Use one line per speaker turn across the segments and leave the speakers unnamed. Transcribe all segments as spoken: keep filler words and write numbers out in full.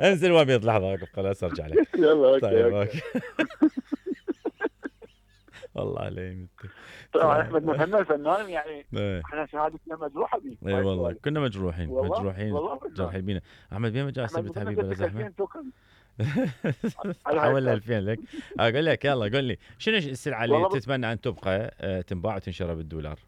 انزل وابيض لحظه واقف خلاص ارجع لك.
يلا اوكي
طيب
اوكي.
والله علي.
طبعا احمد مهنا الفنان يعني
ايه
احنا شهادتنا مجروحه بيه.
اي والله كنا مجروحين
والله
مجروحين
والله
جرحين بينا. احمد بين ما جاء
احمد
سبت
مهنا
حبيبي ولا
قلت لك
زحمه.
ألفين توكن على هاي
حولنا
السالفة.
ألفين لك. اقول لك يلا قول لي شنو السلعه اللي
والله بس
تتمنى ان تبقى آه، تنباع وتنشرى بالدولار؟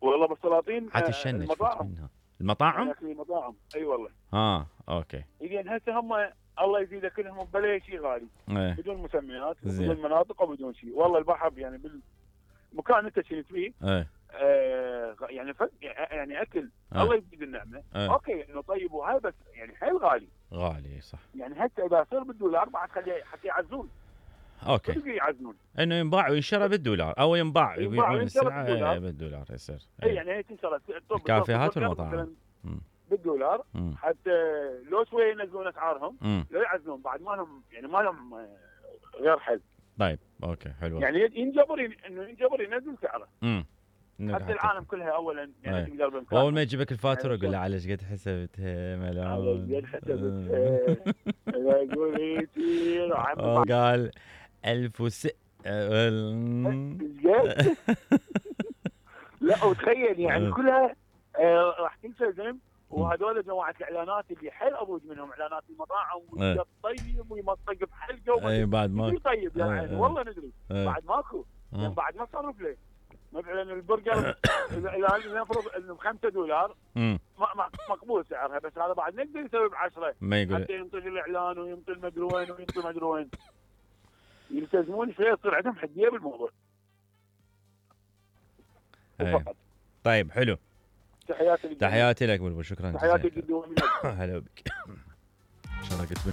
والله بالسلاطين
حتى
آه،
الشنج فوت
المطاعم.
منها.
انا
المطاعم؟
اكل المطاعم اي والله.
اه اوكي.
لان هسه هم الله يزيد كلهم بلا شيء غالي
ايه
بدون مسميات
زين.
وبدون مناطق وبدون شيء. والله البحر يعني بالمكان انت كنت فيه
ايه
آه يعني فك يعني اكل
ايه
الله يزيد النعمه.
ايه
اوكي انه طيب وهاي بس يعني حيل غالي.
غالي صح.
يعني هسه اذا صار بالدولار بعد خليه حتى يعزون.
اوكي
صدق يعزون.
انه ينباع وينشرى بالدولار او ينباع
ينباع
يبيعون
وينشرى
السلعه
بالدولار.
إيه بالدولار يصير.
اي
ايه
يعني هي تنشرى
الكافيهات
مثلا
والمطاعم. مم.
بالدولار
مم.
حتى لو شويه ينزلون اسعارهم
مم.
لا يعزلون بعد ما لهم يعني ما لهم آه، غير حل.
طيب اوكي حلو.
يعني ينجبر ين- انه ينجبر ينزل سعره.
امم
حتى العالم كلها اولا يعني
أي.
تقدر بامكانها.
واول ما يجيبك الفاتوره
يعني
قول له على ايش قد حسبتها ملعون.
على قد حسبتها لا قولي يصير عم
قال ألف وس
زين. لا وتخيل يعني كلها آه، راح تلتزم. وهذول جماعه الاعلانات اللي حيل اضوج منهم اعلانات المطاعم والطيب ويمطق بحلقه
اي بعد ما
ندري طيب يا عيني والله ندري
أي.
بعد ماكو يعني بعد ما صرف ليه مثلا البرجر اذا نفرض انه ب خمسة دولار
امم
ما- ما- مقبول سعرها بس هذا بعد نقدر يسوي ب عشرة
ما يقول
حتى ينطي الاعلان وينطي المدري وين وينطي المدري وين. يلتزمون شويه يصير عندهم حديه بالموضوع.
أي.
وفقط.
طيب حلو.
تحياتي لك
تحياتي لك بلبل شكرا
تحياتي
جزيلا.
جدا.
هلا بك. شرقت